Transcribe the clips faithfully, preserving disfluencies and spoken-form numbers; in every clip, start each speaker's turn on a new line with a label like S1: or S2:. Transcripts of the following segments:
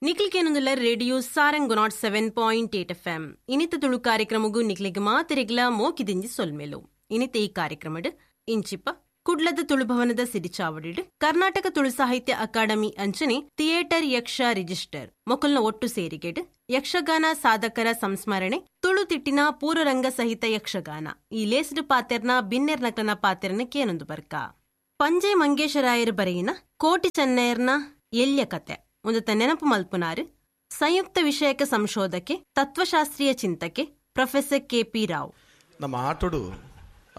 S1: Nikhil ಕೇನೊಂದುಲ್ಲ radio Sarang nought seven point eight F M. ಇನಿತ ತುಳು ಕಾರ್ಯಕ್ರಮಗೂ ನಿಕ್ಲಿಗ್ ಮಾತೆರೆಗ್ಲ ಮೋಕಿದಿಂಜಿ ಸೊಲ್ಮೆಲು. ಇನಿತ ಈ ಕಾರ್ಯಕ್ರಮಡ್ ಇಂಚಿಪ ಕುಡ್ಲದ ತುಳುಭವನದ ಸಿಡಿಚಾವಡಿಡ್ ಕರ್ನಾಟಕ ತುಳು ಸಾಹಿತ್ಯ ಅಕಾಡೆಮಿ ಅಂಚನೆ ಥಿಯೇಟರ್ ಯಕ್ಷ ರಿಜಿಸ್ಟರ್ ಮೊಕಲ್ನ ಒಟ್ಟು ಸೇರಿಗೆಡ್ ಯಕ್ಷಗಾನ ಸಾಧಕರ ಸಂಸ್ಮರಣೆ ತುಳು ತಿಟ್ಟಿನ ಪೂರ್ವರಂಗ ಸಹಿತ ಯಕ್ಷಗಾನ ಈ ಲೇಸ್ಡ್ ಪಾತೆರ್ನ ಬಿನ್ನೆರ್ನಕನ ಪಾತೆರ್ನ ಕೇನೊಂದು ಬರ್ಕ. ಪಂಜೆ ಮಂಗೇಶರಾಯರ್ ಬರೆಯಿನ ಕೋಟಿ ಚೆನ್ನಯರ್ನ ಎಲ್ಯ ಕತೆ ಒಂದು ನೆನಪು ಮಲ್ಪುನಾರು ಸಂಯುಕ್ತ ವಿಷಯಕ ಸಂಶೋಧಕೆ ತತ್ವಶಾಸ್ತ್ರೀಯ ಚಿಂತಕೆ ಪ್ರೊಫೆಸರ್ ಕೆ ಪಿ ರಾವ್.
S2: ನಮ್ಮ ಆಟೋಡು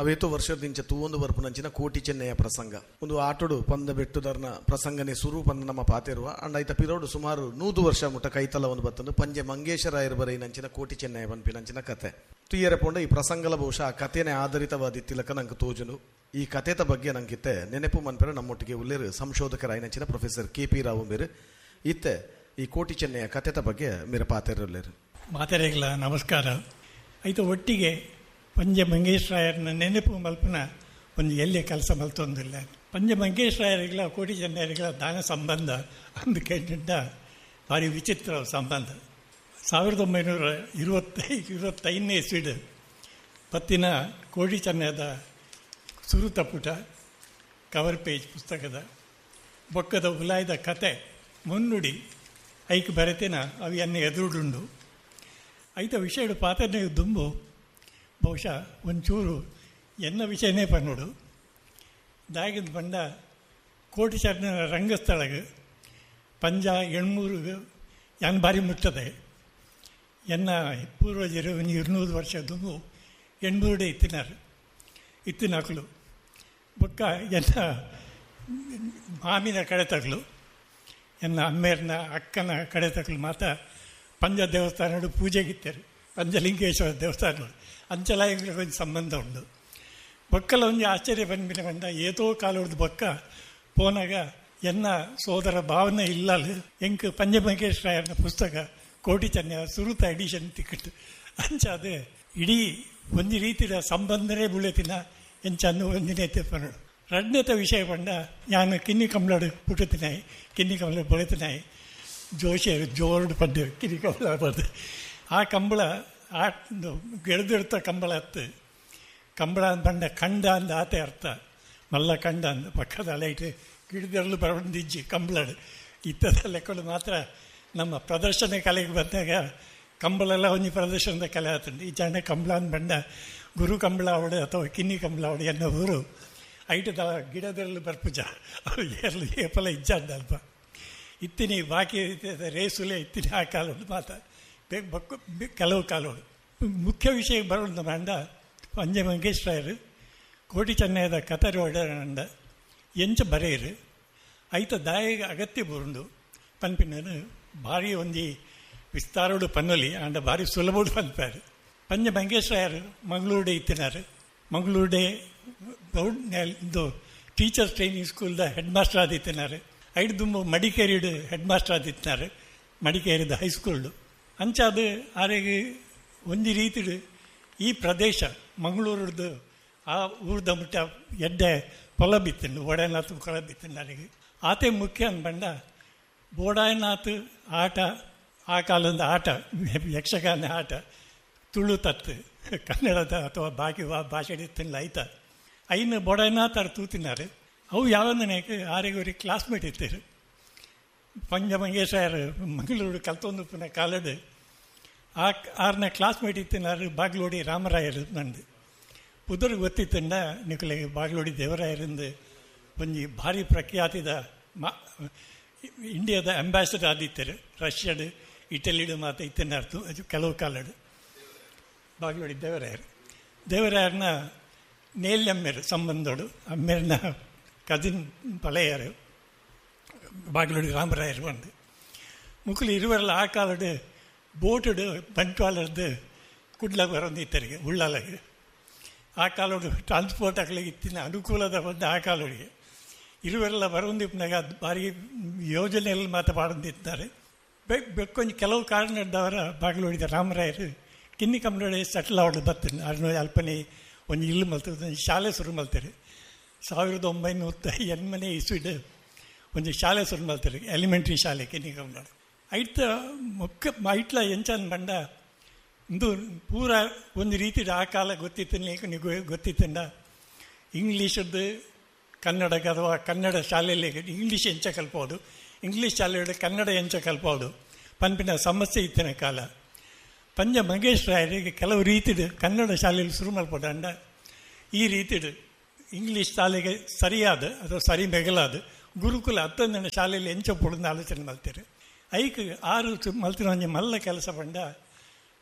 S2: ಅವೇತೋ ವರ್ಷದಿಂಚ ತೂವೊಂದು ಬರ್ಪುನಂಚಿನ ಕೋಟಿ ಚೆನ್ನಯ್ಯ ಪ್ರಸಂಗ ಒಂದು ಆಟೋಡು ಪಂದ ಬೆಟ್ಟುದರ್ನ ಪ್ರಸಂಗನೆ ಸುರು ಪಂದ ನಮ್ಮ ಪಾತೆರುವ ಅಂಡ್ ಐತ ಪಿರೋಡು ಸುಮಾರು ನೂದು ವರ್ಷ ಮುಟ್ಟ ಕೈತಲ ಒಂದು ಬತ್ತಂದು ಪಂಜೆ ಮಂಗೇಶರಾಯರ್ ಬರೆಯಿನಂಚಿನ ಕೋಟಿ ಚೆನ್ನಯ್ಯ ಪನ್ಪಿನಂಚಿನ ಕತೆ ತುಯ್ಯರ ಪೋಂಡ ಈ ಪ್ರಸಂಗಲ ಬಹುಶಃ ಆ ಕಥೆನೆ ಆಧಾರಿತವಾದಿತ್ತಿಲಕ ನಂಗೆ ತೋಜುನು. ಈ ಕಥೆತ ಬಗ್ಗೆ ನಂಗಿತ್ತೆ ನೆನಪು ಮನ್ಪೆರ ನಮ್ಮೊಟ್ಟಿಗೆ ಉಲ್ಲೇರು ಸಂಶೋಧಕರಾಯಿನಂಚಿನ ಪ್ರೊಫೆಸರ್ ಕೆ ಪಿ ರಾವ್ ಮೇರು ಇತ್ತೆ ಈ ಕೋಟಿ ಚೆನ್ನಯ್ಯ ಕಥೆತ ಬಗ್ಗೆ ಮೇರೆ ಪಾತೆರಲ್ಲೇರು.
S3: ಮಾತೆರೆಗಳ ನಮಸ್ಕಾರ. ಐತ ಒಟ್ಟಿಗೆ ಪಂಜೆ ಮಂಗೇಶರಾಯರ್ನ ನೆನಪು ಮಲ್ಪನ ಒಂದು ಎಲ್ಲಿ ಕೆಲಸ ಮಲ್ತೊಂದಿಲ್ಲ. ಪಂಜೆ ಮಂಗೇಶರಾಯರಿಗಳ ಕೋಟಿ ಚೆನ್ನಯ್ಯರಿಗಳ ದಾನ ಸಂಬಂಧ ಅಂದು ಕೇಳಿದ್ದ ಭಾರಿ ವಿಚಿತ್ರ ಸಂಬಂಧ. ಸಾವಿರದ ಒಂಬೈನೂರ ಇರುವತ್ತೈ ಇರುವತ್ತೈದನೇ ಇಸ್ವಿಡ್ ಪತ್ತಿನ ಕೋಟಿ ಚೆನ್ನಯ್ಯದ ಸುರುತ ಪುಟ ಕವರ್ ಪೇಜ್ ಪುಸ್ತಕದ ಬೊಕ್ಕದ ಉಲಾಯ್ದ ಕತೆ ಮುನ್ನುಡಿ ಐಕ್ ಬರೆತಿನ ಅವು ಎನ್ನ ಎದುರುಡುಂಡು. ಐತ ವಿಷಯಡು ಪಾತ್ರನೇ ದುಂಬು ಬಹುಶಃ ಒಂಚೂರು ಎನ್ನ ವಿಷಯನೇ ಪನ್ನುಡು ದಾಗಿಂದ ಬಂಡ ಕೋಟಿ ಚೆನ್ನಯ್ಯನ ರಂಗಸ್ಥಳಗೆ ಪಂಜ ಎಣ್ಮೂರು ಯಾನ್ ಭಾರಿ ಮುಟ್ಟದೆ. ಎನ್ನ ಪೂರ್ವಜರು ಒಂದು ಇರುನೂರು ವರ್ಷ ದುಂಬು ಎಣ್ಮೂರುಡೆ ಇತ್ತಿನಾರು ಇತ್ತಿನಕಲು ಬೊಕ್ಕ ಎನ್ನ ಮಾಮಿನ ಕಡೆ ತಗಲು ಎನ್ನ ಅಮ್ಮೇರ್ನ ಅಕ್ಕನ ಕಡೆ ತಗಲು ಮಾತ ಪಂಜ ದೇವಸ್ಥಾನಡು ಪೂಜೆಗಿತ್ತಾರೆ ಪಂಜಲಿಂಗೇಶ್ವರ ದೇವಸ್ಥಾನ ಅಂಚಲ ಒಂದು ಸಂಬಂಧ ಉಂಡು. ಬೊಕ್ಕಲ ಒಂಜಿ ಆಶ್ಚರ್ಯ ಬಂದ್ಬಿನ ಬಂದ ಏತೋ ಕಾಲೊಡ್ದು ಬೊಕ್ಕ ಪೋನಾಗ ಎನ್ನ ಸೋದರ ಭಾವನೆ ಇಲ್ಲಲು ಎಂಕ್ ಪಂಜಮಂಗೇಶ್ವರಾಯನ ಪುಸ್ತಕ ಕೋಟಿ ಚೆನ್ನಯ್ಯ ಸುರುತ ಎಡಿಷನ್ ತಿಕ್ಕಿಟ್ಟು ಅಂಚಾದ ಇಡೀ ಒಂದು ರೀತಿಯ ಸಂಬಂಧನೇ ಬುಳೆತಿನ ಎಂಚನ್ನು ಒಂದಿನೇ ತಿಪ್ಪನೋಡು. ರಡ್ನೇತ ವಿಷಯ ಬಂಡ ನಾನು ಕಿನ್ನಿ ಕಂಬಳಡು ಪುಟ್ಟುತ್ತಿನಾಯಿ ಕಿನ್ನಿ ಕಂಬಳ ಬೊಳೆತಿನಾಯಿ ಜೋಶಿಯರು ಜೋರ್ಡು ಪಡ್ಡು ಕಿನ್ನಿ ಕಂಬಳ ಪಡ್ದು ಆ ಕಂಬಳ ಆ ಗೆಳೆದಿಡ್ತ ಕಂಬಳ ಹತ್ತು ಕಂಬಳ ಬಂಡ ಕಂಡ ಅಂದ ಆತೆ ಅರ್ಥ ಮಲ್ಲ ಕಂಡ ಅಂದ ಪಕ್ಕದ ಲೈಟ್ ಗಿಡದರಲು ಬರಬಂದಿಜ್ಜಿ ಕಂಬಳಡು ಇತ್ತದ ಲೆಕ್ಕಲು ಮಾತ್ರ ನಮ್ಮ ಪ್ರದರ್ಶನ ಕಲೆಗೆ ಬಂದಾಗ ಕಂಬಳೆಲ್ಲ ಒಂಜಿ ಪ್ರದರ್ಶನದ ಕಲೆ ಆತಂಡು. ಈ ಜನ ಕಂಬಳ ಅಂದ ಬಂಡ ಗುರು ಕಂಬಳ ಅವಡು ಅಥವಾ ಕಿನ್ನಿ ಕಂಬಳ ಅವಡು ಎನ್ನೋ ಊರು ಐಟದ ಗಿಡದರಲು ಬರ್ಪುಜ ಅವು ಏರ್ಲು ಏಪಲ ಇಜ್ಜಾಂಡ ಅಲ್ಪ ಇತ್ತಿನಿ ಬಾಕಿ ರೇಸುಲೆ ಇತ್ತಿನಿ ಆ ಕಾಲೋಡು ಮಾತ ಬಕ್ಕು ಕೆಲವು ಕಾಲೋಡು. ಮುಖ್ಯ ವಿಷಯ ಬರೋಣ ಬಂಡ ಪಂಜೆ ಮಂಗೇಶ್ವರಾಯರು ಕೋಟಿ ಚೆನ್ನಯ್ಯದ ಕತರು ಒಡಂಡ ಎಂಚ ಬರೆಯರು ಐತ ದಾಯಿಗೆ ಅಗತ್ಯ ಬರುಂಡು ಪನ್ಪಿನ ಭಾರಿ ಒಂಜಿ ವಿಸ್ತಾರೋಡು ಪನ್ನೊಲಿ ಅಂಡ ಭಾರಿ ಸುಲಭೋಡು ಪನ್ಪಾರು. ಪಂಜೆ ಮಂಗೇಶ್ವರಾಯರು ಮಂಗಳೂರುಡೆ ಇತ್ತಿನಾರು ಮಂಗಳೂರುಡೆ ಇದು ಟೀಚರ್ಸ್ ಟ್ರೈನಿಂಗ್ ಸ್ಕೂಲ್ದ ಹೆಡ್ ಮಾಸ್ಟರ್ ಆದಿತ್ತಿನಾರು. ಐಡು ದುಂಬು ಮಡಿಕೇರಿಡು ಹೆಡ್ ಮಾಸ್ಟರ್ ಆದಿತ್ತಿನಾರು ಮಡಿಕೇರಿದ ಹೈಸ್ಕೂಲ್ಡು. ಅಂಚಾದ ಆರೆಗೆ ಒಂಜಿ ರೀತಿಡು ಈ ಪ್ರದೇಶ ಮಂಗಳೂರದ್ದು ಆ ಊರ್ದ ಮುಟ್ಟ ಎಡ್ಡೆ ಪೊಲ ಬಿತ್ತಂಡು ಒಡೆನಾಥ್ ಕೊಲ ಬಿತ್ತಂಡು ಅರೆಗೆ ಆತೆ ಮುಖ್ಯ ಅಂದ್ಬಂಡ ಬೋಡಾಯನಾಥ್ ಆಟ ಆ ಕಾಲದ ಆಟ ಯಕ್ಷಗಾನ ಆಟ ತುಳು ತತ್ತು ಕನ್ನಡದ ಅಥವಾ ಬಾಕಿ ಭಾಷೆ ಇತ್ತಿಲ್ಲ ಐತ ಐನು ಬೋಡಾಯನಾಥ್ ಅವ್ರು ತೂತಿನಾರು. ಅವು ಯಾವಂದನೇಕ ಆರೆಗೆ ಅವ್ರಿಗೆ ಕ್ಲಾಸ್ಮೇಟ್ ಇತ್ತೀರು. ಪಂಜ ಮಂಗೇಶ್ವರ ಮಂಗಳೂರು ಕಲ್ತೊಂದು ಪುನಃ ಕಾಲಡು ಆ ಆರನ ಕ್ಲಾಸ್ಮೇಟ್ ಇತ್ತಿನಾರು ಬಾಗ್ಲೋಡಿ ರಾಮರಾಯರು ನಂದು ಪುದರ್ ಗೊತ್ತಿತ್ತಂಡ ನಿಕುಲಿಗೆ ಬಾಗ್ಲೋಡಿ ದೇವರಾಯರಿಂದ ಒಂಜಿ ಭಾರಿ ಪ್ರಖ್ಯಾತಿದ ಮಾ ಇಂಡಿಯಾದ ಅಂಬಾಸಿಡರ್ ಆದಿತ್ತಾರೆ ರಷ್ಯಾಡು ಇಟಲಿಡು ಮಾತ ಇತ್ತಿನಾರ್ತು ಕೆಲವು ಕಾಲಡು ಬಾಗ್ಲೋಡಿ ದೇವರಾಯರು ದೇವರಾಯರನ್ನ ನೇಲ್ಯಮ್ಮೇರು ಸಂಬಂಧೋಡು ಅಮ್ಮೇರನ ಕಸಿನ್ ಪಳೆಯರು ಬಾಗ್ಲೋಡಿ ರಾಮರಾಯರು ಬಂದು ಮುಕ್ಕಲು ಇರುವರೆಲ್ಲ ಆ ಕಾಲಡು ಬೋಟುಡು ಬಂಟ್ವಾಳದ್ದು ಕುಡ್ಲ ಬರೋದು ಉಳ್ಳಾಲಗೆ ಆ ಕಾಲೋಡು ಟ್ರಾನ್ಸ್ಪೋರ್ಟ್ ಆಗ್ಲಿಕ್ಕೆ ಇತ್ತಿನ ಅನುಕೂಲದ ಬಂದು ಆ ಕಾಲೋಡಿಗೆ ಇರುವರೆಲ್ಲ ಬರೋಂದಿಪ್ಪನಾಗ ಅದು ಭಾರಿ ಯೋಜನೆಯಲ್ಲಿ ಮಾತು ಮಾಡಂದಿದ್ದಾರೆ. ಬೆಕ್ಕೊಂಜಿ ಕೆಲವು ಕಾರಣದವರ ಬಾಗ್ಲೋಡಿದ ರಾಮರಾಯರು ಕಿನ್ನಿ ಕಂಬಳೋಡಿ ಸೆಟ್ಲ್ ಅವಳು ಬರ್ತೇನೆ ಅರ್ನೋ ಅಲ್ಪನೆ ಒಂದು ಇಲ್ಲು ಮಲ್ತದೆ ಒಂದು ಶಾಲೆ ಶುರು ಮಲ್ತಾರೆ. ಸಾವಿರದ ಒಂಬೈನೂರ ಎನ್ಮನೆ ಇಸ್ವಿಡ್ ಒಂದು ಶಾಲೆ ಶುರು ಮಲ್ತಾರೆ ಎಲಿಮೆಂಟ್ರಿ ಶಾಲೆ ಕಿನ್ನಿ ಕಂಬಳೋಡು. ಐತ ಮೊಕ್ಕ ಐಟ್ಲ ಎಂಚನ್ ಬಂಡ ಇಂದು ಪೂರ ಒಂದು ರೀತಿ ಆ ಕಾಲ ಗೊತ್ತಿತ್ತು ಗೊತ್ತಿತ್ತಂಡ ಇಂಗ್ಲೀಷದ್ದು ಕನ್ನಡಕ್ಕೆ ಅಥವಾ ಕನ್ನಡ ಶಾಲೆಯಲ್ಲಿ ಇಂಗ್ಲೀಷ್ ಎಂಚ ಕಲ್ಪೋದು, ಇಂಗ್ಲೀಷ್ ಶಾಲೆಯಲ್ಲಿ ಕನ್ನಡ ಎಂಚ ಕಲ್ಪೋದು ಪನ್ಪಿನ ಸಮಸ್ಯೆ ಇತ್ತಿನ ಕಾಲ. ಪಂಜ ಮಂಗೇಶ್ ರಾಯರಿಗೆ ಕೆಲವು ರೀತಿದು ಕನ್ನಡ ಶಾಲೆಯಲ್ಲಿ ಶುರು ಮಲ್ಪೋದಂಡ ಈ ರೀತಿದು ಇಂಗ್ಲೀಷ್ ಶಾಲೆಗೆ ಸರಿಯಾದ ಅಥವಾ ಸರಿ ಮೆಗಲಾದ ಗುರುಕುಲ ಹತ್ತೊಂದನೇ ಶಾಲೆಯಲ್ಲಿ ಎಂಚ ಪೊಡನ್ನ ಆಲೋಚನೆ ಮಲ್ತೀರಿ. ಐಕ್ ಆರು ಮಲ್ತಿನ ಒಂಜಿ ಮಲ್ಲ ಕೆಲಸ ಪಂಡ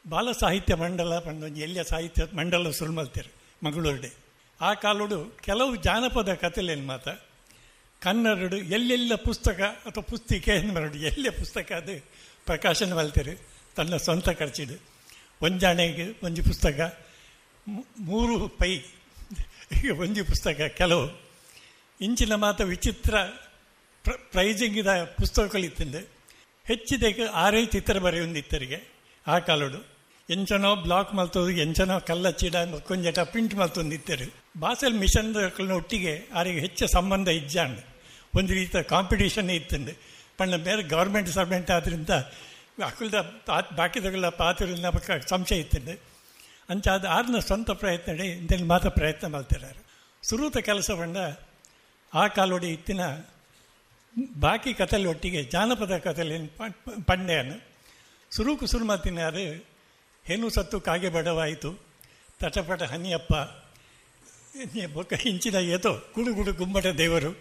S3: ಬಾಲ ಸಾಹಿತ್ಯ ಮಂಡಲ ಪಂಡ ಒಂಜಿ ಎಲ್ಲಿಯ ಸಾಹಿತ್ಯ ಮಂಡಲ ಶುರು ಮಲ್ತೀರಿ ಮಂಗಳೂರುಡೆ. ಆ ಕಾಲೋಡು ಕೆಲವು ಜಾನಪದ ಕಥೆಲೇನು ಮಾತ ಕನ್ನಡಡು ಎಲ್ಲೆಲ್ಲ ಪುಸ್ತಕ ಅಥವಾ ಪುಸ್ತಿಕೆ ಮರಡು ಎಲ್ಲೇ ಪುಸ್ತಕ ಅದು ಪ್ರಕಾಶನ ಮಲ್ತೀರಿ ತನ್ನ ಸ್ವಂತ ಖರ್ಚಿಡು. ಒಂಜಾಣೆಗೆ ಒಂಜಿ ಪುಸ್ತಕ ಮೂರು ಪೈ ಒಂಜಿ ಪುಸ್ತಕ ಕೆಲವು ಇಂಚಿನ ಮಾತ ವಿಚಿತ್ರ ಪ್ರ ಪ್ರೈಜಿಂಗಿದ ಪುಸ್ತಕಗಳಿತ್ತಂದೆ ಹೆಚ್ಚಿದಕ್ಕೆ ಆರೇ ಚಿತ್ರ ಬರೆಯೊಂದಿತ್ತರಿಗೆ ಆ ಕಾಲೋಡು. ಎಂಚನೋ ಬ್ಲಾಕ್ ಮಲ್ತೋದು, ಎಂಚನೋ ಕಲ್ಲ ಚೀಡ ಕೊಂಜಟ ಪ್ರಿಂಟ್ ಮಲ್ತೊಂದಿತ್ತರು. ಬಾಸೆಲ್ ಮಿಷನ್ ಒಟ್ಟಿಗೆ ಆರಿಗೆ ಹೆಚ್ಚು ಸಂಬಂಧ ಇಜ್ಜಾಂಡ್ ಒಂದು ರೀತಿಯ ಕಾಂಪಿಟೇಷನ್ ಇತ್ತಂದು. ಪಂಡ ಬೇರೆ ಗೌರ್ಮೆಂಟ್ ಸರ್ವೆಂಟ್ ಆದ್ದರಿಂದ ಅಕುಲ್ದ ಬಾಕಿದಗಳ ಪಾತ್ರ ಸಂಶಯ ಇತ್ತಂದು. ಅಂಚಾದ ಆರ್ನ ಸ್ವಂತ ಪ್ರಯತ್ನ ಇಂದಲ್ಲಿ ಮಾತ್ರ ಪ್ರಯತ್ನ ಮಾಡ್ತಿದ್ದಾರೆ. ಸುರೂತ ಕೆಲಸ ಪಂಡ ಆ ಕಾಲೋಡಿ ಇತ್ತಿನ ಬಾಕಿ ಕಥೆಲಿ ಒಟ್ಟಿಗೆ ಜಾನಪದ ಕಥೆಲಿ ಪಂಡೆಯನ್ನು ಸುರುಕು ಸುರು ಮಾತಿನಾರು ಹೇನು ಸತ್ತು ಕಾಗೆ ಬಡವಾಯಿತು, ತಟಪಟ ಹನಿಯಪ್ಪ, ಬೊಕ್ಕ ಇಂಚಿನ ಏತೋ ಗುಡುಗುಡು ಗುಮ್ಮಟ ದೇವರು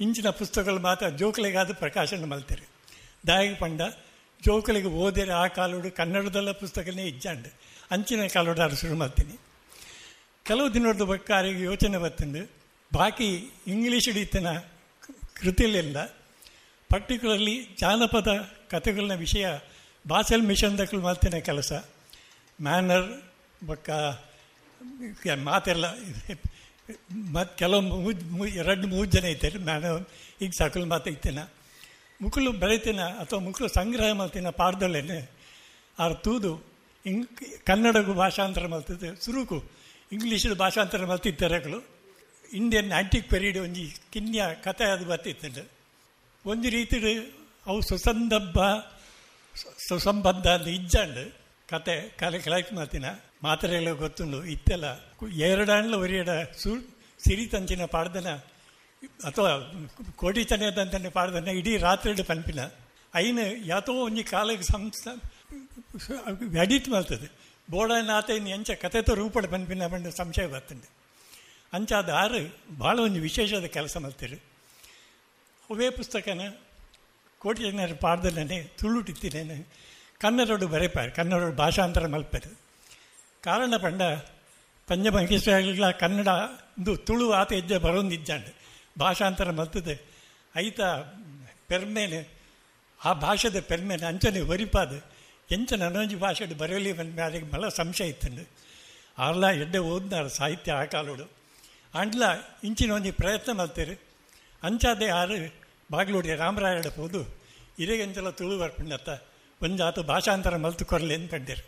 S3: ಇಂಚಿನ ಪುಸ್ತಕಗಳು ಮಾತ್ರ ಜೋಕುಲಿಗಾದ ಪ್ರಕಾಶನ ಮಲ್ತಾರೆ. ದಾಯಿಗೆ ಪಂಡ ಜೋಕುಲಿಗೆ ಓದಿರ ಆ ಕಾಲೋಡು ಕನ್ನಡದಲ್ಲ ಪುಸ್ತಕನೇ ಇಜ್ಜಾಂಡ್ ಅಂಚಿನ ಕಾಲೋಡು ಆರು ಶುರು ಮಾಡ್ತೀನಿ. ಕೆಲವು ದಿನದ ಬಕ್ಕಾರಿಗೆ ಯೋಚನೆ ಬರ್ತಂಡು ಬಾಕಿ ಇಂಗ್ಲೀಷ್ ಇತ್ತಿನ ಕೃತಿಯಲ್ಲೆಲ್ಲ ಪರ್ಟಿಕ್ಯುಲರ್ಲಿ ಜಾನಪದ ಕಥೆಗಳನ್ನ ವಿಷಯ ಬಾಸೆಲ್ ಮಿಷನ್ ದಕ್ಕಲು ಮಾಡ್ತಿನ ಕೆಲಸ ಮ್ಯಾನರ್ ಬೊಕ್ಕ ಮಾತೆಲ್ಲ ಮತ್ತು ಕೆಲವು ಮೂ ಎರಡು ಮೂರು ಜನ ಇದ್ದಾರೆ ಮ್ಯಾನರ್ ಈಗ ಸಾಕಲು ಮಾತು ಇತ್ತೇನ ಮುಕ್ಕಳು ಬೆಳಿತೇನ ಅಥವಾ ಮುಕ್ಕಳು ಸಂಗ್ರಹ ಮಾಡ್ತೀನ ಪಾಡ್ದಲ್ಲೇನೆ ಆರು ತೂದು ಇಂಗ್ ಕನ್ನಡಕ್ಕೂ ಭಾಷಾಂತರ ಮಲ್ತದೆ ಸುರುಕು ಇಂಗ್ಲೀಷ್ ಭಾಷಾಂತರ ಮಲ್ತಿದ್ದರಗಳು Indian antique period ಒಂಜಿ ಕಿನ್ಯ ಕಥೆ ಅದು ಬರ್ತಿತ್ತು. ಒಂದು ರೀತಿ ಅವು ಸುಸಂದರ್ಭ ಸುಸಂಬದ್ಧ ಅಂತ ಇಜ್ಜಾಂಡ್ ಕತೆ ಕಲೆ ಕಲೆಕ್ಟ್ ಮಾಡ್ತೀನ ಮಾತ್ರೆಲ್ಲ ಗೊತ್ತುಂಡು ಇತ್ತೆಲ್ಲ ಎರಡಾಂಡ್ಲ ಒರಿಯಡ ಸು ಸಿರಿತಂಚಿನ ಪಾಡ್ದನ ಅಥವಾ ಕೋಟಿ ಚನೆದಂತನೆ ಪಾಡ್ದನ ಇಡೀ ರಾತ್ರಿ ಪನ್ಪಿನ ಐನು ಯಾತೋ ಒಂಜಿ ಕಾಲಕ್ಕೆ ಸಂಸ ಎಡಿಟ್ ಮಾಡ್ತದೆ ಬೋಡನಾತ ಇನ್ನು ಎಂಚ ಕತೆತ ರೂಪಡ ಪನ್ಪಿನ ಪಂಡ ಸಂಶಯ ಬರ್ತಂಡೆ. ಅಂಚಾದ ಆರು ಭಾಳ ಒಂದು ವಿಶೇಷದ ಕೆಲಸ ಮಾಡ್ತೀರಿ. ಅವೇ ಪುಸ್ತಕನ ಕೋಟಿ ಜನರ ಪಾಡ್ದಲ್ಲೇ ತುಳುಟಿತ್ತಿನೇನೆ ಕನ್ನಡೋಡು ಬರೆಪಾರು ಕನ್ನಡೋಡು ಭಾಷಾಂತರ ಮಲ್ಪಾರು. ಕಾರಣ ಪಂಡ ಪಂಜ ಮಂಗೇಶ್ವರ ಕನ್ನಡ ಒಂದು ತುಳು ಆತ ಹೆಜ್ಜೆ ಬರೋಂದಿಜ್ಜಾಂಡ್ ಭಾಷಾಂತರ ಮಲ್ತದೆ ಐತ ಪೆರ್ಮೇನೆ ಆ ಭಾಷೆದ ಪೆರ್ಮೇನೆ ಅಂಚನೆ ಒರಿಪಾದ ಎಂಚ ನನೊಂಜಿ ಭಾಷೆ ಬರೆಯಲಿ ಅದಕ್ಕೆ ಬಹಳ ಸಂಶಯ ಇತ್ತಂಡು. ಆರ್ಲ ಎಡ್ಡೆ ಓದ್ನಾರ ಸಾಹಿತ್ಯ ಆ ಕಾಲೋಡು ಅಂಡ್ಲ ಇಂಚಿನ ಒಂಜಿ ಪ್ರಯತ್ನ ಮಲ್ತೇರು. ಅಂಚಾದೆ ಆರು ಬಾಗ್ಲೋಡಿ ರಾಮರಾಯಡ ಹೋದು ಇರೆಗೆಂಚಲ ತುಳು ಬರ್ಪಿಂಡತ್ತ ಒಂಜಾತ ಭಾಷಾಂತರ ಮಲ್ತು ಕೊರಲಿ ಅಂತ ಕಂಡೇರು.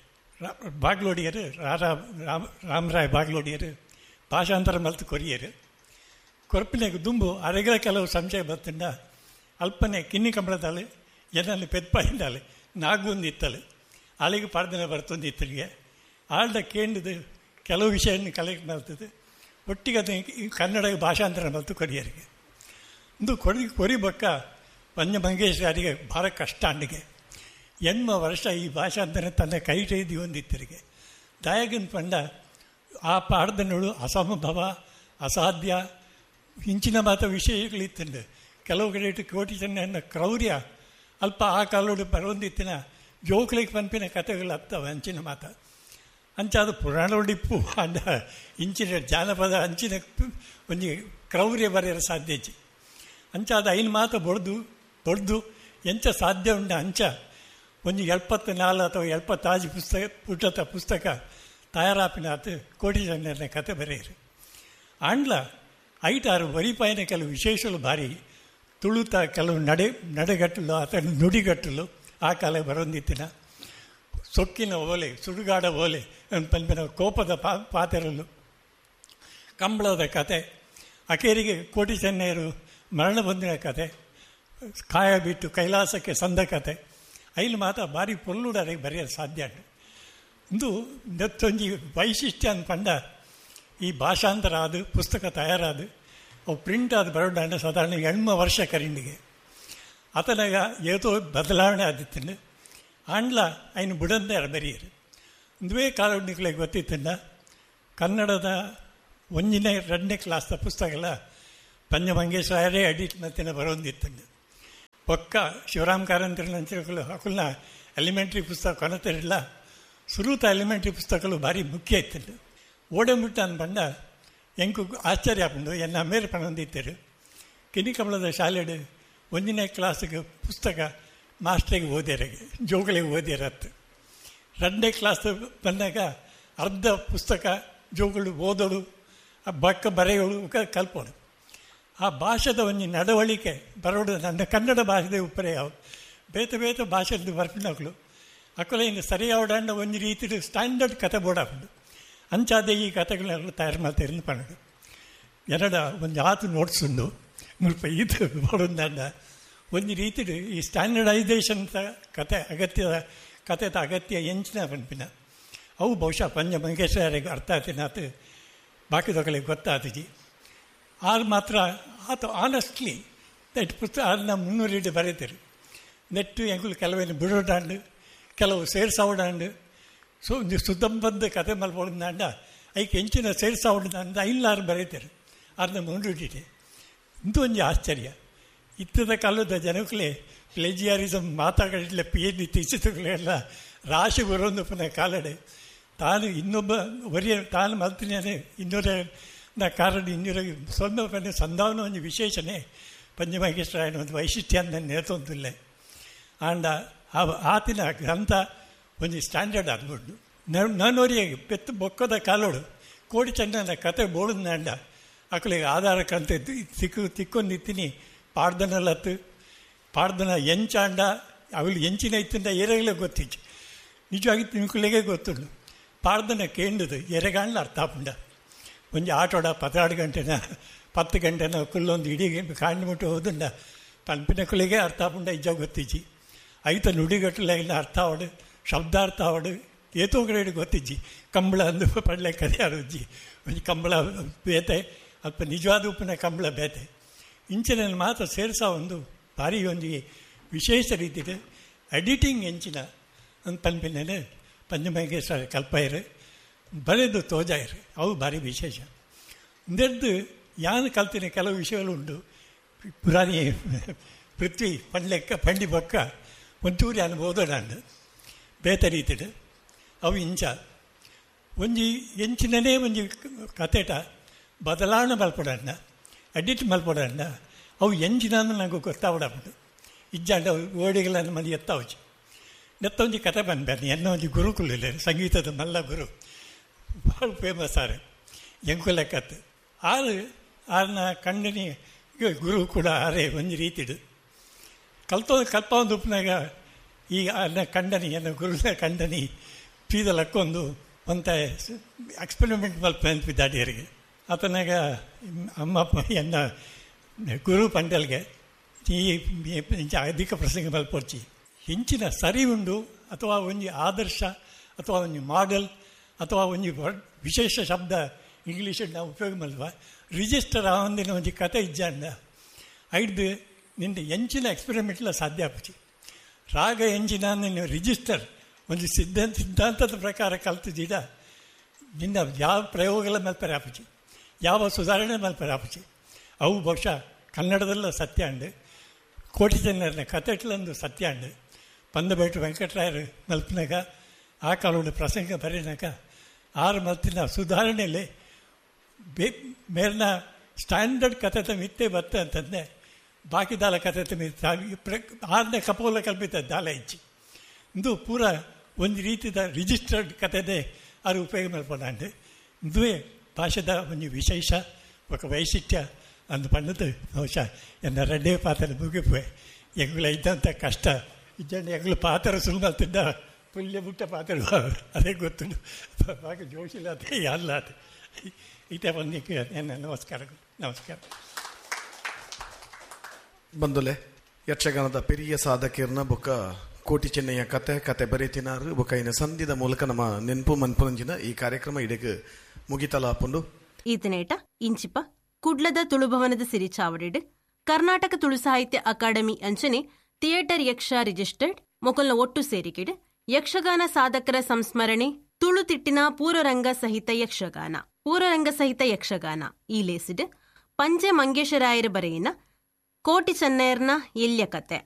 S3: ಬಾಗ್ಲೋಡಿಯರು ರಾರಾ ರಾಮ ರಾಮರಾಯ ಬಾಗ್ಲೋಡಿಯರು ಭಾಷಾಂತರ ಮಲ್ತು ಕೊರಿಯರು. ಕೊರಪಿನಾಗ ದುಂಬು ಅರೆಗಳ ಕೆಲವು ಸಂಶಯ ಬರ್ತಂಡ ಅಲ್ಪನೆ ಕಿನ್ನಿ ಕಂಬಳದಾಳೆ ಎನ್ನಲ್ಲಿ ಪೆದ್ಪಾಯಿಂದಾಳೆ ನಾಗೊಂದು ಇತ್ತಲೆ ಆಳಿಗೆ ಪಾಡ್ದನೆ ಬರ್ತೊಂದು ಇತ್ತಲಿಗೆ ಆಳ್ದ ಕೇಂದ್ರದ ಕೆಲವು ವಿಷಯವನ್ನು ಕಲೆಕ್ಟ್ ಮಾಡ್ತದೆ ಒಟ್ಟಿಗೆ ಅದನ್ನು ಕನ್ನಡ ಭಾಷಾಂತರ ಮಲ್ತು ಕೊರಿಯರಿಗೆ. ಒಂದು ಕೊರಿ ಕೊರಿ ಬಕ್ಕ ಪಂಜ ಮಂಗೇಶ್ವರಿಗೆ ಭಾಳ ಕಷ್ಟ ಅಂಡಿಗೆ ಎನ್ಮ ವರ್ಷ ಈ ಭಾಷಾಂತರ ತನ್ನ ಕೈ ಕೈದಿ ಒಂದಿತ್ತರಿಗೆ. ದಾಯಗನ್ ಪಂಡ ಆ ಪಾಡ್ದನೋಳು ಅಸಂಭವ ಅಸಾಧ್ಯ ಇಂಚಿನ ಮಾತ ವಿಷಯಗಳಿತ್ತಂಡು ಕೆಲವು ಕಡೆ ಕೋಟಿ ಚೆನ್ನ ಕ್ರೌರ್ಯ ಅಲ್ಪ ಆ ಕಾಲೋಡು ಬರೋಂದಿತ್ತಿನ ಜೋಕ್ಲಿಗೆ ಪನ್ಪಿನ ಕಥೆಗಳು ಹತ್ತವ ಅಂಚಿನ ಮಾತ ಅಂಚಾದ ಪುರಾಣೋಡಿಪ್ಪು ಅಂಡ ಇಂಚಿನ ಜಾನಪದ ಅಂಚಿನ ಒಂಜಿ ಕ್ರೌರ್ಯ ಬರೆಯಲು ಸಾಧ್ಯ ಇಜ್ಜಿ. ಅಂಚಾದ ಐನು ಮಾತ ಬೊಡ್ದು ಬೊಡ್ದು ಎಂಚ ಸಾಧ್ಯ ಉಂಡ ಅಂಚ ಒಂಜಿ ಎಪ್ಪತ್ತು ನಾಲ್ ಅಥವಾ ಎಪ್ಪತ್ತಾಜಿ ಪುಸ್ತಕ ಪುಟದ ಪುಸ್ತಕ ತಯಾರಾಪಿನಾತ್ ಕೋಟಿ ಜನರ ಕತೆ ಬರೆಯರು. ಆಂಡ್ಲ ಐಟಾರು ವರಿಪಾಯಿನ ಕೆಲವು ವಿಶೇಷಗಳು ಭಾರಿ ತುಳುತ ಕೆಲವು ನಡೆ ನಡೆಗಟ್ಟಲು ಅಥವಾ ನುಡಿಗಟ್ಟಲು ಆ ಕಾಲ ಬರೋಂದಿತ್ತಿನ ಸೊಕ್ಕಿನ ಓಲೆ ಸುಡುಗಾಡ ಓಲೆ ಪನ್ಪಿನ ಕೋಪದ ಪಾ ಪಾತೆರಲು ಕಂಬಳದ ಕತೆ ಅಕೇರಿಗೆ ಕೋಟಿ ಚೆನ್ನೈಯರು ಮರಣ ಬಂದಿನ ಕತೆ ಕಾಯ ಬಿಟ್ಟು ಕೈಲಾಸಕ್ಕೆ ಸಂದ ಕತೆ ಐಲು ಮಾತ ಭಾರಿ ಪೊಲ್ಲುಡಾರೆ ಬರೆಯಲು ಸಾಧ್ಯ ಉಂಟು. ಇಂದು ನೆತ್ತೊಂಜಿ ವೈಶಿಷ್ಟ್ಯ ಅಂದ್ಪಂಡ ಈ ಭಾಷಾಂತರ ಆದು ಪುಸ್ತಕ ತಯಾರಾದು ಅವು ಪ್ರಿಂಟ್ ಆದ ಬರೋಡಾಂಡ ಸಾಧಾರಣ ಎಣ್ಮ ವರ್ಷ ಕರಿಂಡಿಗೆ ಆತನಾಗ ಏತೋ ಬದಲಾವಣೆ ಆದಿತ್ತಂಡು ಆಂಡ್ಲ ಐನು ಬುಡಂದೇ ಬರೆಯರು. ಇಂದುವೇ ಕಾಲುಣಿಗಳಿಗೆ ಗೊತ್ತಿತ್ತಂಡ ಕನ್ನಡದ ಒಂದನೇ ಎರಡನೇ ಕ್ಲಾಸ್ದ ಪುಸ್ತಕಲ ಪಂಜಮಂಗೇಶ್ವರೇ ಎಡಿಟ್ ಮತ್ತಿನ ಬರೋಂದಿತ್ತಂಡು. ಪಕ್ಕ ಶಿವರಾಮ್ ಕಾರಂತರನ್ನ ಅಕುಲ್ನ ಎಲಿಮೆಂಟ್ರಿ ಪುಸ್ತಕ ಕೊನತಿರಲಿಲ್ಲ. ಸುರೂತ ಎಲಿಮೆಂಟ್ರಿ ಪುಸ್ತಕಗಳು ಭಾರಿ ಮುಖ್ಯ ಇತ್ತಂಡು. ಓಡಂಬಿಟ್ಟು ಅನ್ಪಂಡ ಎಂಕು ಆಶ್ಚರ್ಯ ಆಪುಂಡು. ಎನ್ನ ಮೇರೆ ಪಣೊಂದಿತ್ತರು ಕಿನಿಕಮಲದ ಶಾಲೆಡು ಒಂದನೇ ಕ್ಲಾಸಿಗೆ ಪುಸ್ತಕ ಮಾಸ್ಟ್ರಿಗೆ ಓದ್ಯಾರಿಗೆ ಜೋಗಳಿಗೆ ಓದ್ಯಾರತ್ತು. ಎರಡನೇ ಕ್ಲಾಸ್ ಬಂದಾಗ ಅರ್ಧ ಪುಸ್ತಕ ಜೋಗಳು ಓದೋಡು, ಆ ಬಕ್ಕ ಬರೆಯೋಳು ಕಲ್ಪೋಡು. ಆ ಭಾಷೆದ ಒಂದು ನಡವಳಿಕೆ ಬರೋಡು ನನ್ನ ಕನ್ನಡ ಭಾಷೆದ ಉಪ್ಪರೆ ಯಾವ ಬೇತೆ ಬೇತೆ ಭಾಷೆದ ಬರ್ಪಿನಗಳು ಅಕ್ಕಲೆ ಇನ್ನು ಸರಿಯಾವಡಾಂಡ ಒಂದು ರೀತಿ ಸ್ಟ್ಯಾಂಡರ್ಡ್ ಕತೆ ಬೋರ್ಡ್ ಅಂಚಾದೆ ಈ ಕತೆಗಳನ್ನೆಲ್ಲ ತಯಾರು ಮಾಡ್ತಾರೆ ಪನ್ನಡು. ಎರಡ ಒಂದು ಆತು ನೋಟ್ಸ್ ಉಂಡು ಮುಲ್ಪ ಈತ ಬೋಡೊಂದಂಡ ಒಂದು ರೀತಿ ಈ ಸ್ಟ್ಯಾಂಡರ್ಡೈಸೇಷನ್ ಕತೆ ಅಗತ್ಯದ ಕತೆದ ಅಗತ್ಯ ಎಂಚಿನ ಪನ್ಪಿನ ಅವು ಬಹುಶಃ ಪಂಜ ಮಂಗೇಶ್ವರಿಗೆ ಅರ್ಥ ಆತಿನಾತು ಬಾಕಿದೊಕಲಿಗೆ ಗೊತ್ತಾತಿಜಿ. ಆರು ಮಾತ್ರ ಆತ ಆನೆಸ್ಟ್ಲಿ that ಪುಸ್ತಕ ಅದನ್ನ ಮುನ್ನೂರಿಟ್ಟು ಬರೀತಾರೆ. ನೆಟ್ಟು ಎಂಗುಲು ಕೆಲವೇನು ಬಿಡೋಡಾಂಡು ಕೆಲವು ಸೇರ್ಸಾವಡಾಂಡು ಸೊ ಸುದ್ದಂಬಂದ ಕತೆ ಮಲ್ಪೊಂದಾಂಡ ಐಕೆ ಎಂಚಿನ ಸೇರ್ಸಾವಡಾಂಡ ಐಲ್ಲಾರು ಬರೀತಾರೆ ಅದನ್ನ ಮುನ್ನೂರಿಟ್ಟಿದೆ. ಇಂದು ಒಂಜಿ ಆಶ್ಚರ್ಯ ಇತ್ತದ ಕಾಲದ ಜನಕ್ಕಲೇ ಪ್ಲೇಜಿಯಾರಿಸಮ್ ಮಾತಾಡಲಿಲ್ಲ P H D ತೀಸಿತುಗಳೆಲ್ಲ ರಾಶಿ ಬರೋದು ಪುನಃ ಕಾಲಡೆ ತಾನು ಇನ್ನೊಬ್ಬ ಒರಿಯ ತಾನು ಮಲ್ತಿನೇ ಇನ್ನೊರ ಕಾರಣ ಇನ್ನೊರ ಸ್ವಂತ ಸಂಧಾವನ ಒಂದು ವಿಶೇಷಣೆ ಪಂಚಮಂಗೇಶ್ವರಾಯನ ಒಂದು ವೈಶಿಷ್ಟ್ಯ ಅಂತ ನೇತೊಂದಿಲ್ಲ. ಆಂಡ ಆ ಆತಿನ ಗ್ರಂಥ ಒಂದು ಸ್ಟ್ಯಾಂಡರ್ಡ್ ಆಗ್ಬಿಟ್ಟು ನಾನೋರಿಗೆ ಪೆತ್ತು ಬೊಕ್ಕದ ಕಾಲೋಡು ಕೋಡಿ ಚಂದನ ಕತೆ ಬೋಳಂಡ ಅಕ್ಕಳಿಗೆ ಆಧಾರ ಕಂತ ತಿಕ್ಕು ತಿಕ್ಕೊಂದಿತ್ತೀನಿ ಪಾಡ್ದನಲ್ಲತ್ತು ಪಾಡ್ದನ ಎಂಚಾಂಡ ಅವಳು ಎಂಚಿನ ಇತ್ತಿಂದ ಏರೆಗಲೇ ಗೊತ್ತಿತ್ತು ನಿಜವಾಗಿ ತಿನ್ಕುಲಿಗೆ ಗೊತ್ತುಂಡು ಪಾಡ್ದನ ಕೇಂಡದು ಎರೆಗಾಂಡ್ಲ ಅರ್ಥ ಆಪುಂಡ. ಒಂಜಿ ಆಟೋಡ ಪತ್ರಾಡು ಗಂಟೆನ ಪತ್ತು ಗಂಟೆನ ಕುಲ್ಲೊಂದು ಇಡೀ ಕಾಂಡ್ಬಿಟ್ಟು ಹೋದುಂಡ ಪನ್ಪಿನ ಕುಲಿಗೆ ಅರ್ಥ ಆಪುಂಡ ಇಜ್ಜ ಗೊತ್ತಿಜ್ಜಿ. ಐತ ನುಡಿಗಟ್ಟಲೆ ಅರ್ಥ ಆವಡು ಶಬ್ದಾರ್ಥ ಆವಡು ಏತೋ ಕಡೆ ಗೊತ್ತಿಜ್ಜಿ. ಕಂಬಳ ಅಂದು ಪಡ್ಲೆ ಕದೆ ಅರುಜ್ಜಿ ಒಂಜಿ ಕಂಬಳ ಬೇತೆ ಅಲ್ಪ ನಿಜವಾದ ಉಪ್ಪಿನ ಕಂಬಳ ಬೇತೆ ಇಂಚಿನ ಮಾತ್ರ ಸೇರಿಸ ಒಂದು ಭಾರಿ ಒಂಜಿ ವಿಶೇಷ ರೀತಿಯ ಎಡಿಟಿಂಗ್ ಎಂಚಿನ ಅಂತ ಪನ್ಪಿನ ಪಂಚಮಂಗೇಶ್ವರ ಕಲ್ಪಾಯರು ಬರೆದು ತೋಜಾಯರು ಅವು ಭಾರಿ ವಿಶೇಷ. ಇಂದೆದ್ದು ಯಾನು ಕಲ್ತಿನ ಕೆಲವು ವಿಷಯಗಳು ಉಂಟು. ಪುರಾಣಿ ಪೃಥ್ವಿ ಪಂಡ್ಲೆಕ್ಕ ಪಂಡಿ ಬೊಕ್ಕ ಒಂಚೂರು ಯಾನು ಓದೋಡಾಂಡು ಬೇತೆ ರೀತಿಡು ಅವು ಇಂಚ ಒಂಜಿ ಎಂಚಿನನೇ ಒಂಜಿ ಕತೆಟ ಬದಲಾವಣೆ ಮಲ್ಪಡಣ್ಣ ಎಡಿಟ್ ಮಲ್ಪಡಣ್ಣ ಅವು ಎಂಚಿನ ನಂಗೆ ಗೊತ್ತಾವಡಾಪುಂಡು. ಇಜ್ಜಾಂಡ ಅವು ಓಡಿಗಳನ್ನು ಮನೆ ಎತ್ತಾವಚಿ ನೆತ್ತ ಒಂಜಿ ಕತೆ ಬಂದ್ಬೇನೆ ಎನ್ನ ಒಂಜಿ ಗುರುಕುಲ ಸಂಗೀತದ ಮಲ್ಲ ಗುರು ಭಾಳ ಫೇಮಸ್ ಆರು ಎಂಕುಲೆಕ್ಕತ್ತು ಆರು ಆರನ ಕಣ್ಣನಿ ಗುರು ಕೂಡ ಆರೇ ಒಂಜಿ ರೀತಿಡು ಕಲ್ತೋ ಕಲ್ಪ ಒಂದು ಉಪ್ಪಿನಾಗ ಈ ಅನ್ನ ಕಂಡನಿ ಎನ್ನ ಗುರುನ ಕಂಡನಿ ಪೀದಲಕ್ಕೊಂದು ಒಂತ ಎಕ್ಸ್ಪೆರಿಮೆಂಟ್ ಮಲ್ಪ ಅನ್ಪಿದ್ದಾಡಿಯರಿಗೆ ಆತನಾಗ ಅಮ್ಮ ಎನ್ನ ಗುರು ಪಂಡಲ್ಗೆ ಈ ಅಧಿಕ ಪ್ರಸಂಗ ಮಲ್ಪೊರ್ಚಿ ಹೆಂಚಿನ ಸರಿ ಉಂಡು ಅಥವಾ ಒಂಜಿ ಆದರ್ಶ ಅಥವಾ ಒಂಜಿ ಮಾಡೆಲ್ ಅಥವಾ ಒಂಜಿ ವಿಶೇಷ ಶಬ್ದ ಇಂಗ್ಲೀಷ್ ನಾವು ಉಪಯೋಗ ಮಲ್ವ ರಿಜಿಸ್ಟರ್ ಆವಂದಿನ ಒಂಜಿ ಕತೆ ಇಜ್ಜಾಂಡ ಐಡ್ದು ನಿನ್ನ ಎಂಚಿನ ಎಕ್ಸ್ಪೆರಿಮೆಂಟ್ಲ ಸಾಧ್ಯ ಆಪುಜಿ. ರಾಗ ಎಂಚಿನ ನಿನ್ನ ರಿಜಿಸ್ಟರ್ ಒಂದು ಸಿದ್ಧಾಂತ ಸಿದ್ಧಾಂತದ ಪ್ರಕಾರ ಕಲ್ತಿದ್ದೀರ ನಿನ್ನ ಯಾವ ಪ್ರಯೋಗಗಳ ಮಲ್ಪರೆ ಆಪುಜಿ ಯಾವ ಸುಧಾರಣೆ ಮಲ್ಪರೆ ಆಪುಜಿ. ಅವು ಬಹುಶಃ ಕನ್ನಡದಲ್ಲ ಸತ್ಯ ಅಂಡು ಕೋಟಿ ಜನರನ್ನ ಕತೆಟ್ಲಂದು ಸತ್ಯ ಅಂಡು ಪಂದಬೇಟು ವೆಂಕಟರಾಯರು ಮಲ್ಪನಾಗ ಆ ಕಾಲೋಡು ಪ್ರಸಂಗ ಬರೀನಾಗ ಆರು ಮಲ್ತಿನ ಸುಧಾರಣೆಯಲ್ಲಿ ಬೇ ಮೇಲಿನ ಸ್ಟ್ಯಾಂಡರ್ಡ್ ಕತೆ ಮಿತ್ತೆ ಬತ್ತೆ ಅಂತಂದೆ ಬಾಕಿ ದಾಲ ಕತೆ ಮಿತ್ತ ಆರನೇ ಕಪೋಲ ಕಲ್ಪಿತ ದಾಲ ಇಚ್ಚಿ ಇಂದು ಪೂರ ಒಂದು ರೀತಿಯ ರಿಜಿಸ್ಟರ್ಡ್ ಕತೆದೇ ಆರು ಉಪಯೋಗ ಮಲ್ಪೊಂಡು. ಇಂದುವೇ ಭಾಷೆದ ಒಂದು ವಿಶೇಷ ఒక ವೈಶಿಷ್ಟ್ಯ ಅಂದು ಪಣ್ಣದು ಬಹುಶಃ ಎನ್ನ ರಡ್ಡೇ ಪಾತ್ರ ಮುಗಿಪುವೆ ಎಂಗುಲ ಇದ್ದಂಥ ಕಷ್ಟ ಇಜ್ಜಂಡ ಎಂಗುಲ ಪಾತ್ರ ಸುಲ್ಮಲ್ತಿದ್ದ ಪುಲ್ಯ ಬುಟ್ಟ ಪಾತ್ರ ಅದೇ ಗೊತ್ತು ಬಾಕಿ ಜೋಶಿಲ್ಲ ಅದೇ ಅಲ್ಲ ಅದೇ ಇದೇ ಬಂದಿಕ್ಕೆ ಎನ್ನ ನಮಸ್ಕಾರಗಳು. ನಮಸ್ಕಾರ.
S2: ಬಂದುಲೆ ಯಕ್ಷಗಾನದ ಪೆರಿಯ ಸಾಧಕಿಯರ್ನ ಬೊಕ್ಕ ಕೋಟಿ ಚೆನ್ನಯ್ಯ ಕತೆ ಕತೆ ಬರೆತಿನಾರು ಬೊಕೈನ ಸಂಧಿದ ಮೂಲಕ ನಮ್ಮ ನೆನಪು ಮನ್ಪುನಂಚಿನ ಈ ಕಾರ್ಯಕ್ರಮ ಇಡೆಗ್ ಮುಗಿತಲಾಪುಂಡು.
S1: ಈತನೇಟ ಇಂಚಿಪ ಕುಡ್ಲದ ತುಳುಭವನದ ಸಿರಿಚಾವಡಿಡ್ ಕರ್ನಾಟಕ ತುಳು ಸಾಹಿತ್ಯ ಅಕಾಡೆಮಿ ಅಂಚನೆ ಥಿಯೇಟರ್ ಯಕ್ಷ ರಿಜಿಸ್ಟರ್ಡ್ ಮೊಕಲ್ನ ಒಟ್ಟು ಸೇರಿಕೆಡ್ ಯಕ್ಷಗಾನ ಸಾಧಕರ ಸಂಸ್ಮರಣೆ ತುಳು ತಿಟ್ಟಿನ ಪೂರ್ವರಂಗ ಸಹಿತ ಯಕ್ಷಗಾನ ಪೂರ್ವರಂಗ ಸಹಿತ ಯಕ್ಷಗಾನ ಈ ಲೇಸಿಡ್ ಪಂಜೆ ಮಂಗೇಶರಾಯರ ಬರೆಯಿನ ಕೋಟಿ ಚೆನ್ನಯರ್ನ ಎಲ್ಯ ಕತೆ.